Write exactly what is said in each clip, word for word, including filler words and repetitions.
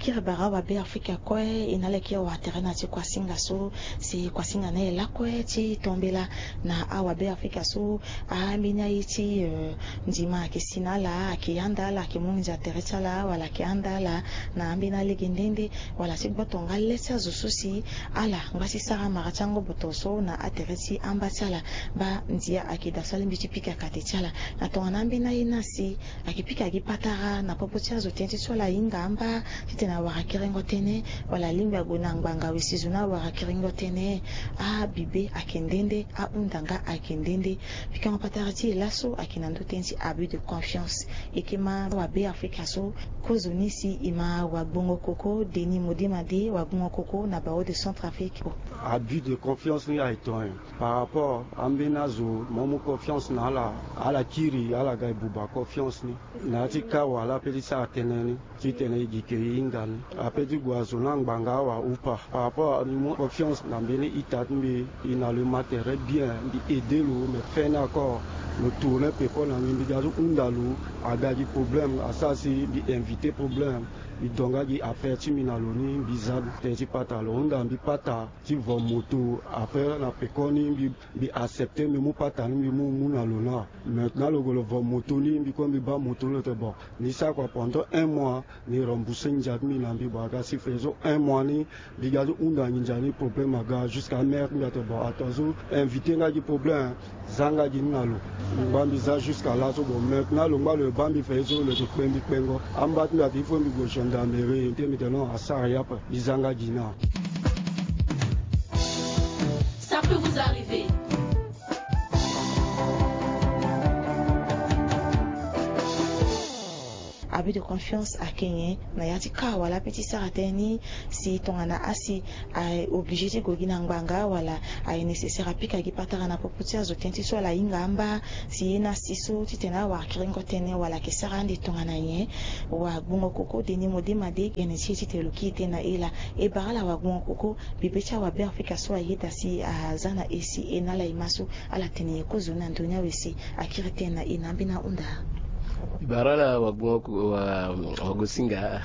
Kiri bara awabe afrika kue e na ala e kiri wara tere na ti kuasinga so, si kuasinga na e lakue ti tombela na awabe afrika so. Ambeni aye ti ndima ayeke si na ala, ayeke handa ala, ayeke mu nginza tere ti ala wala ayeke handa ala na ambeni alege nde nde, wala ti gboto nga le ti azo so si ala ngba ti sara mara ti angoboto so na atere ti amba ti ala. Baa ndia ayeke daa so alingbi ti pika kate ti ala na tongana ambeni aye ni asi. Ayeke pika gi patara na popo ti azo tënë ti so ala hinga amba titene awara kiringo tënë, wala alingbi ague na ngbanga wesi zo ni awara kiringo tënë. Abibe ayeke nde nde, ahunda nga ayeke nde nde. Pikango patara ti e laso ayeke na ndö tënë ti abus de confiance. E ke ma wabe afrika so, kozoni si e ma wagbongo koko Denis Modema de, wagbongo koko na Barreau de Centrafrique. Abus de confiance ni aye tonga nyen? Par rapport ambeni azo mo mu confiance na ala, ala kiri ala ga e buba confiance ni. Na ya ti ka wala ape ti sara tënë ni titene e gi ke e hinga ni. Ape ti gue azo ni angbanga awa ou pas? Par rapport ni mu confiance na mbeni ita ti mbi, e na lo e ma tere bien, mbi aide lo, mais fin ni encore lo tourne peko na mbi, mbi ga ti hunda lo, aga gi problème, asara si mbi invite problème. Mbi do nga gi affaire ti mbi na lo ni, mbi za tënë ti pata, lo hunda mbi pata ti vo moto. Après na pekoni mbi, mbi accepte mbi mu pata ni, mbi mu mu na lo na. Maintenant lo gue lo vo moto ni, mbi kue mbi baa moto ni, lo tene bon, ni sara kua pendant un mois, ni rembourse nginza ti mbi na mbi. Bon, aga si faisons un mois ni, mbi ga ti hunda nginza ni, problème aga jusqu'à mère ti mbi atene bon, ato azo invite nga gi problème, za nga gi ni na lo. Mbi ngba mbi za jusqu'à laso. Bon, maintenant lo ngba lo baa mbi faisons, lo yeke kpe mbi kpengo. Amba ti mbi atene il faut mbi gue gendarmerie, tene mbi tene non, asara ye ape, mbi za nga gi na. Ça peut vous arriver. Abus de confiance ayeke nyen? Na ya ti ka wala ape ti sara tënë ni, si tongana asi aye obligé ti gue gi na ngbanga wala aye nécessaire apika gi patara na popo ti azo tënë ti so ala hinga amba, si ye ni asi so titene awara kiringo tënë wala ayeke sara ande tongana nyen? Wagbongo koko Denis Modema de, gene ti e titene lo kiri tënë na e laa. E bara ala wagbongo koko, bibe ti awabe afrika so ayeda si aza na e si e na ala e ma so, ala tene nyen kozoni na ndoni awe si akiri tënë na e na ambeni ahunda? Mbi bara ala wagbongo ko-, wa-, wagosinga.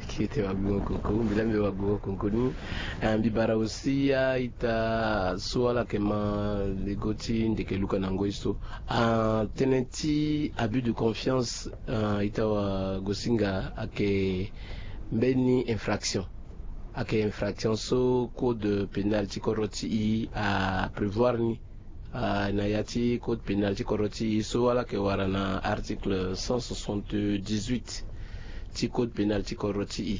Kete wagbongo koko, mbi la mbi wagbongo koko ni. Ah, mbi bara aussi a-ita so ala yeke ma lego ti ndeke luka na ngoi so. Ah, tënë ti abus de confiance, ah, ita wagosinga, ayeke mbeni infraction. Ayeke infraction so code pénal ti kodro ti e aprévoir ni. Ah, na ya ti code pénal ti kodro ti e so ala yeke wara na article cent soixante-dix-huit ti code pénal ti kodro ti e.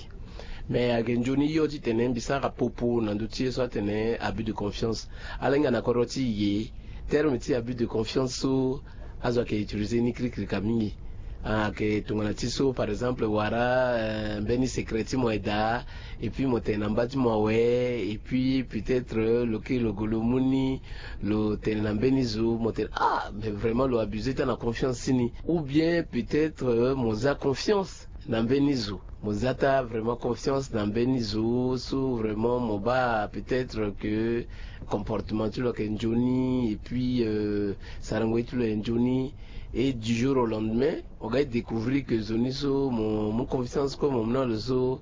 Mais ayeke nzoni hio titene mbi sara popo na ndö ti ye so atene abus de confiance. Ala hinga na kodro ti e, terme ti abus de confiance so azo ayeke utiliser ni kirikirika mingi. Ah, ayeke tongana ti so, par exemple, wara, eh, mbeni secret ti mo aye daa, et puis mo tene na mba ti mo awe, et puis peut-être, eh, lo kiri lo gue lo mu ni, lo tene na mbeni zo, mo tene, ah, mais vraiment lo abuser taa na confiance ti ni. Ou bien peut-être, eh, mo za confiance na mbeni zo. Mo za taa vraiment confiance na mbeni zo so vraiment mo baa peut-être que comportement ti lo ayeke nzoni, et puis, euh, sarango ye ti lo ayeke nzoni. Et du jour au lendemain, mo ga ti découvrir que zo ni so mo mu confiance kue mo mu na lo so,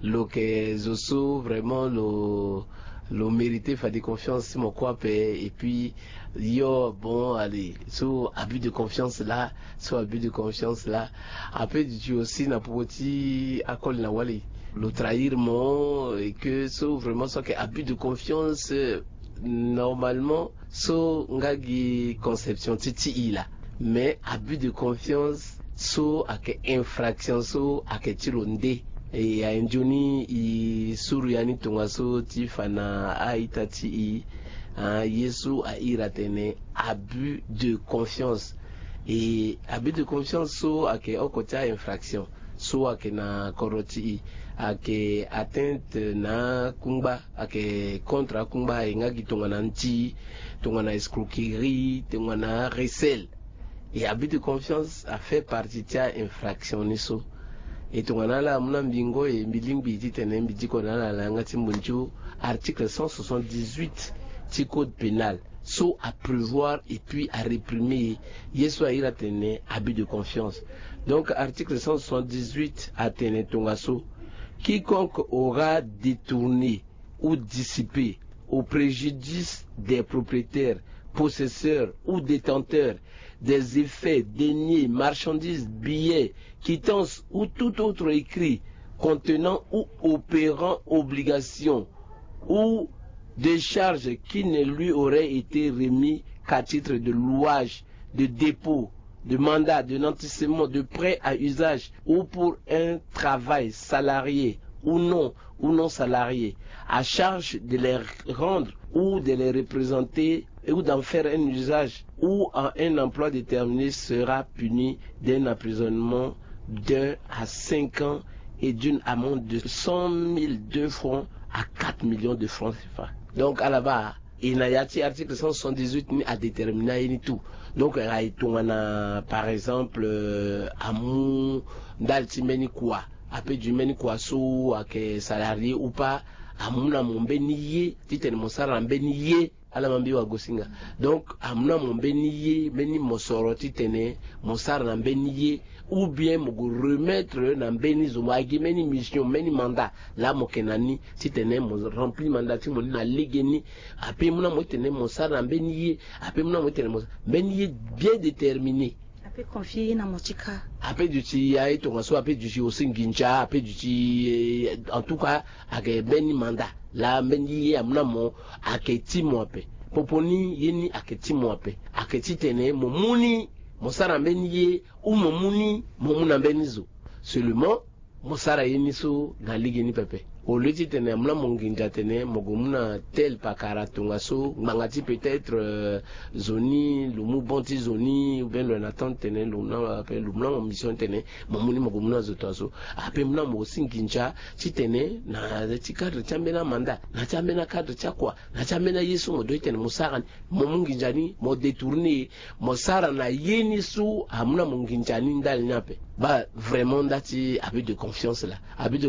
lo yeke zo so vraiment lo, lo mériter fade confiance ti mo kue ape. Et puis, yo, bon, allez, so abus de confiance laa, so abus de confiance laa. Ape duti aussi na popo ti akoli na wali, lo trahir mo, et que so vraiment so ayeke abus de confiance, euh, normalement so nga gi conception ti ti e laa. Mais abus de confiance so ayeke infraction so ayeke ti lo nde. E aye nzoni e suru ya ni tongaso ti fa na a-ita ti e, ah, ye so a iri atene abus de confiance. E abus de confiance so ayeke oko ti a-infraction so ayeke na kodro ti e, ayeke atteinte na akungba, ayeke contre akungba, e nga gi tongana nti, tongana escroquerie, tongana recel. E abus de confiance afait partie ti a-infraction ni so. E tongana ala amu na mbi ngoi, e mbi lingbi titene mbi diko na ala na yanga ti mbondio article cent soixante-dix-huit ti code pénal so aprévoir et puis aréprimer ye so a iri atene abus de confiance. Donc article cent soixante-dix-huit atene tongaso, Quiconque aura détourné ou dissipé au préjudice des propriétaires, possesseurs ou détenteurs des effets, deniers, marchandises, billets, quittances ou tout autre écrit contenant ou opérant obligation ou décharge qui ne lui aurait été remis qu'à titre de louage, de dépôt, de mandat, de nantissement, de prêt à usage ou pour un travail salarié ou non ou non salarié, à charge de les rendre ou de les représenter ou d'en faire un usage ou en un emploi déterminé sera puni d'un emprisonnement d'un à cinq ans et d'une amende de cent mille deux francs à quatre millions de francs C F A. Donc, à la base, e na ya ti article cent soixante-dix-huit ni adétermina ye ni tout. Donc, e tongana, par exemple, euh, amu ndali ti mbeni kua, ape du mbeni kua so ayeke salarié ou pas, amu na mo mbeni ye titene mo sara na mbeni ye. Ala ma mbi wagosinga. Donc, amu na mo mbeni ye, mbeni mosoro titene mo sara na mbeni ye, ou bien mo gue remettre na mbeni zo, mo agi mbeni mission, mbeni mandat laa mo yeke na ni titene mo remplir mandat ti mo ni na legeni. Ape mu na mo titene mo sara na mbeni ye. Ape mu na mo titene mo mbeni ye bien déterminé. Ape confier ye na mo ti ka. Ape duti ya ye tongaso, ape duti aussi nginza, ape duti, eh, en tout cas, ayeke mbeni mandat laa mbeni ye amu na mo ayeke ti mo ape. Popo ni ye ni ayeke ti mo ape, ayeke titene mo mu ni, mo sara mbeni ye, ou mo mu ni mo mu na mbeni zo. Seulement, mo sara ye ni so na legeni pepe. Au lieu titene amu na mo nginza atene mo gue mu na tel pakara tongaso, ngbanga ti peut-être, euh, zo ni lo mu bon ti zo ni, ou bien lo yeke na temps titene lo mu na, lo mu na mo mission titene mo mu ni mo gue mu na zo tongaso. Ape mu na mo aussi nginza titene na ti cadre ti ambeni amanda, na ti ambeni acadre ti akua, na ti ambeni aye so mo doit titene mo sara ni, mo mu nginza ni mo détourner, mo sara na ye ni so amu na mo nginza ni ndali ni ape. Baa, vraiment, nda ti abus de confiance laa. Abus de